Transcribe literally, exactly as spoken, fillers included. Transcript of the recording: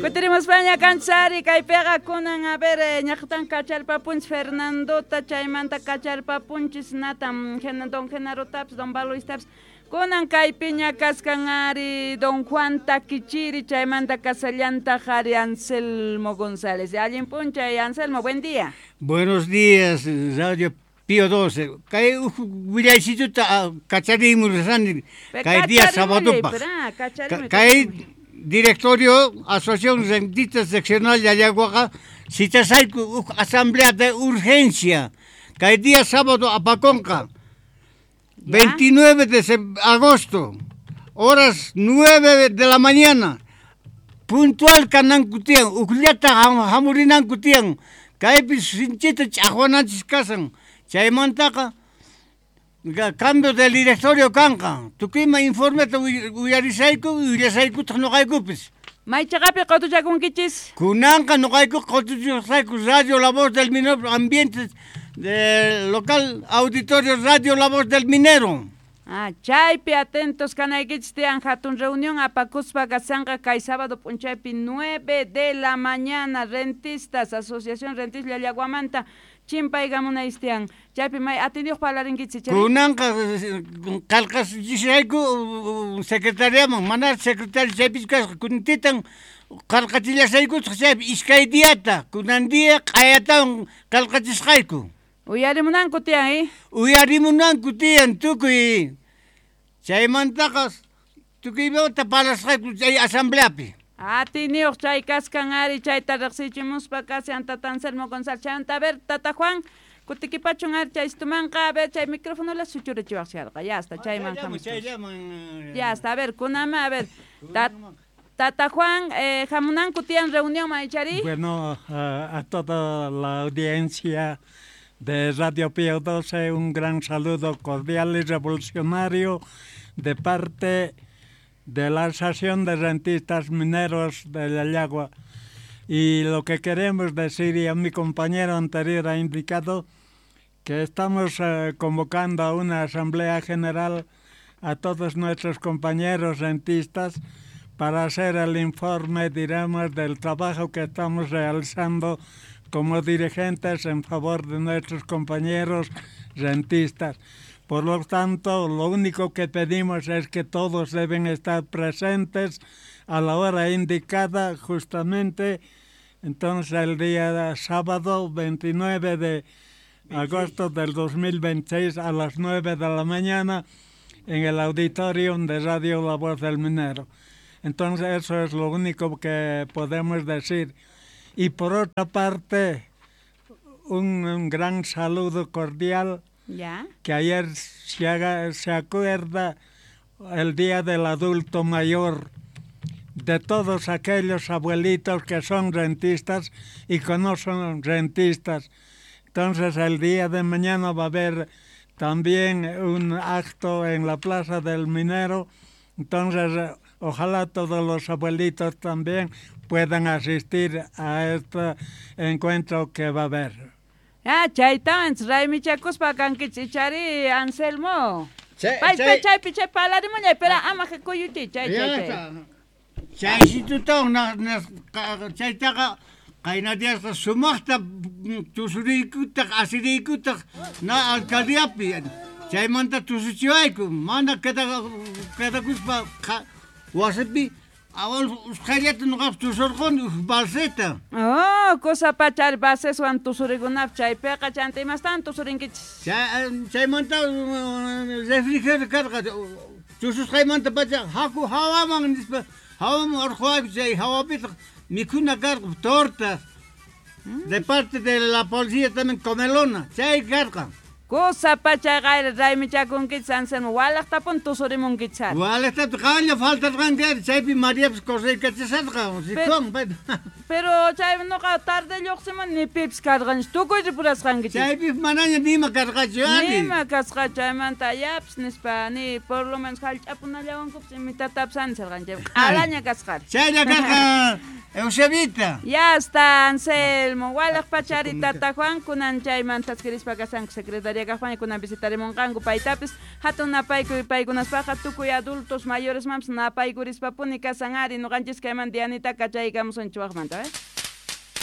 Kutirimuspaña kanchari kaypiqa kunan a ver ñaqtan kacharpapunchis Fernandota chaymanta kacharpapunchis natam don Genarotaps don Baloistaps kunan kaypiña kaskan ari don Juan Taquichiri chaymanta kasallanta ari Anselmo González. Allin p'unchay Anselmo, buen día. Buenos días, Radio Pío doce. Kay willaychituta kacharimusani kay día sábado. Kay directorio Asociación Rentista Seccional de Llallaguaqa citasayku asamblea de urgencia. Kay día sábado apaconqa. veintinueve de agosto, horas nueve de la mañana. Puntual kananku tiyan, ukllata hamurinanku tiyan. Kaypi sinchita ch'aqwananchis kasan. Chaymantaqa cambio del directorio kanqa. Tukuyma informeta uyarisayku, willasaykutaq nuqaykupis. Maychaqapi qutuchakunkichis? Kunanqa nuqayku qutuchasayku Radio La Voz del Minero, ambiente de local auditorio Radio La Voz del Minero. Ah, chaypi atentos kanaykichis tiyan hatun reunión apakuspa kasanqa kay sábado p'unchaypi nueve de la mañana rentistas, Asociación Rentista Llallaguamanta chimpaykamunaystian. Chaypi may atindiyuq parlarinkichis chay. Kunanqa qillqasayku secretariaman, mana secretario chaypis kasqa kuntitan qillqachillasaykutaq chaypi iskay diata, kunan día q'ayatawan qillqachisqayku. Uyarimunanku tiyan, eh? Uyarimunanku tiyan tukuy. Chaymantaqa tukuymanta parlasqayku chay asambleapi. Atiniyuq chay kaskan ari chayta riqsichimuspa kashan tata Anselmo González. Chayanta a ver, tata Juan, kutikipachun ari chay istumanqa, a ver, chay micrófono la suchurachiwaqsharqa. Ya está, chayman hamusqa. Ya está, a ver, kunama, a ver. Tata Juan, eh, hamunanku tiyan reunión maychari. Bueno, a, a toda la audiencia de Radio Pío doce, un gran saludo cordial y revolucionario de parte de la Asociación de Rentistas Mineros de Llallagua. Y lo que queremos decir, y a mi compañero anterior ha indicado, que estamos eh, convocando a una asamblea general a todos nuestros compañeros rentistas para hacer el informe, diremos, del trabajo que estamos realizando como dirigentes en favor de nuestros compañeros rentistas. Por lo tanto, lo único que pedimos es que todos deben estar presentes a la hora indicada, justamente, entonces el día sábado veintinueve de agosto del dos mil veintiséis a las nueve de la mañana en el auditorium de Radio La Voz del Minero. Entonces eso es lo único que podemos decir. Y por otra parte, un, un gran saludo cordial. ¿Ya? Que ayer se, haga, se acuerda el Día del Adulto Mayor, de todos aquellos abuelitos que son rentistas y que no son rentistas. Entonces el día de mañana va a haber también un acto en la Plaza del Minero. Entonces ojalá todos los abuelitos también puedan asistir a este encuentro que va a haber. Ah, chaytawan raymichakuspa kankichis ichari Anselmo. Pay chay chay palarimuñay, pero ama kuyuchi chay chay chay. Chaysitutawan chaytaqa qayna diyasqa sumaqta tusuriykutaq asiriykutaq na alcaldiapi chaymanta tusuchiwayku mana quedakuspa wasipi usqhayllata nuqapas tusurquni balseta. Oh, cosa pachari balseswan tusurikunap chaypiqa chanta imastan tusurinkichis. Chaymanta refrigerio karqa tususqaymanta pacha haku hawaman nispa hawaman urquwayku chay hawapitaq mikhuna karqa tortas de parte de la policía también comelona chay karqa. Cosa pachaqayri raymichakunkichis Anselmo, walaqtapun tusurimunkichis. Walaqtapun qanlla faltarqanki chaypi Mariapas correykachasarqa rikun. Pero chay nuqa tarde lluqsimun ni pipis karqanchu, tukuy ripurasqankichis. Chaypi manaña nima karqachu ari. Nima kasqa chaymanta yapis nispa ni por lo menos hallch'apunallawankupis imitatapis anisarqan chay q'alaña kasqari. Chaylla karqa Eusebita. Ya está, Anselmo. Walaq pachari tata Juan kunan chaymanta thaskirispa kasanku secretaria kaqpaña kunan visitarimunqanku paytapis hatun napaykuy paykunaspaqa tukuy adultos mayores mampis napaykurispa puni kasan ari ñuqanchis kayman Dianita kachaykamusunchik waqmanta, eh?